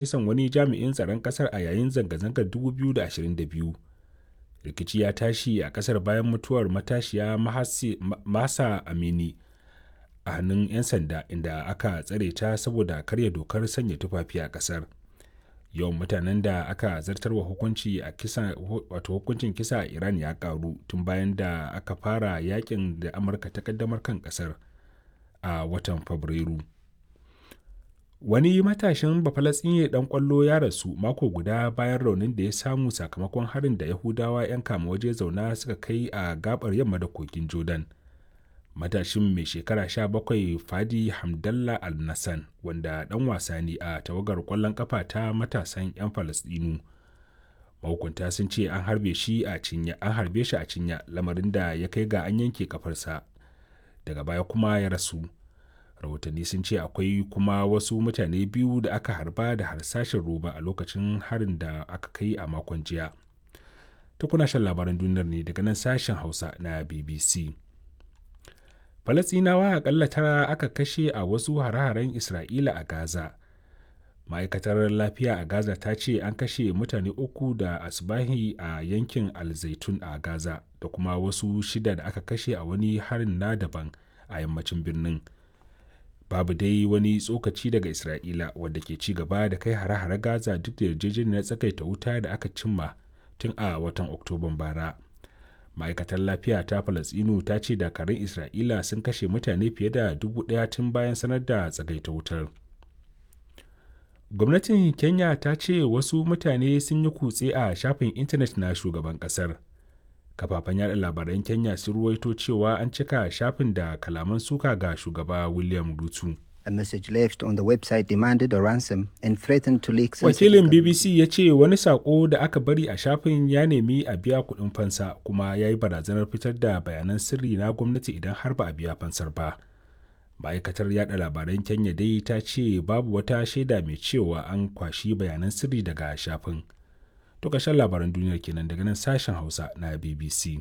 Kisan wani jami'in tsaron ƙasar a yayin zanga-zangar 2022. Rikici ya tashi a ƙasar bayan mutuwar matashiya Mahsa Amini a hannun 'yan sanda inda aka tsare ta saboda karya dokar sanya tufafi a ƙasar. Yawan mutanen da aka zartarwa hukunci a kisa wato hukuncin kisa a Iran ya karu tun bayan da aka fara yakin da Amurka ta kaddamar kan kasar a watan Fabrairu. Wani matashin Bafalatsinye dan kwallo ya rasu mako guda bayan raunin da ya samu sakamakon harin da Yahudawa 'yan kama waje zauna suka kai a gabar yamma da kogin Jordan. Matashin mai shekara 17 Fadi Hamdallah Al-Nassan wanda dan wasa ne a tawagar kwallon kafa ta matasan 'yan Falasɗinu. Mahukunta sun ce an harbe shi a cinya, an harbe shi a cinya lamarin da ya kai ga an yanke kafarsa. Daga baya kuma ya rasu. Rahotanni sun ce akwai kuma wasu mutane biyu da aka harba da harsashin roba a lokacin harin da aka kai a makon jiya. Tukuna shan labaran duniyar ne daga nan sashen Hausa na BBC. Falasɗinawa akalla tara aka kashe a wasu hare-haren Isra'ila a Gaza. Ma'aikatar lafiya a Gaza ta ce an kashe mutane uku da asbahi a yankin Alzaitun a Gaza da kuma wasu shida da aka kashe a wani harin na daban a yammacin birnin. Babu dai wani tsokaci daga Isra'ila wadda ke ci gaba da kai hare-hare Gaza duk da yarjejeniyar tsakaita wuta da aka cimma tun a watan Oktoban bara. Ma'aikatar lafiya ta Falasɗinu ta ce dakarun Isra'ila sun kashe mutane fiye da 1,000 tun bayan sanar da tsagaita wutar. Gwamnatin Kenya ta ce wasu mutane sun yi kutse a shafin intanet na shugaban kasar. Kafafen yada labaran Kenya sun ruwaito cewa an cika shafin da kalaman suka ga shugaba William Ruto. A message left on the website demanded a ransom and threatened to leak Wakilin BBC ya ce wani sako da aka bari a shafin ya nemi a biya kuɗin fansa kuma ya yi barazanar fitar da bayanan sirri na gwamnati idan har ba a biya fansar ba. Ma'aikatar yada labaran Kenya dai ta ce babu wata shaida mai cewa an kwashi bayanan sirri daga shafin. To ƙarshen labaran duniyar kenan daga nan sashen Hausa na BBC.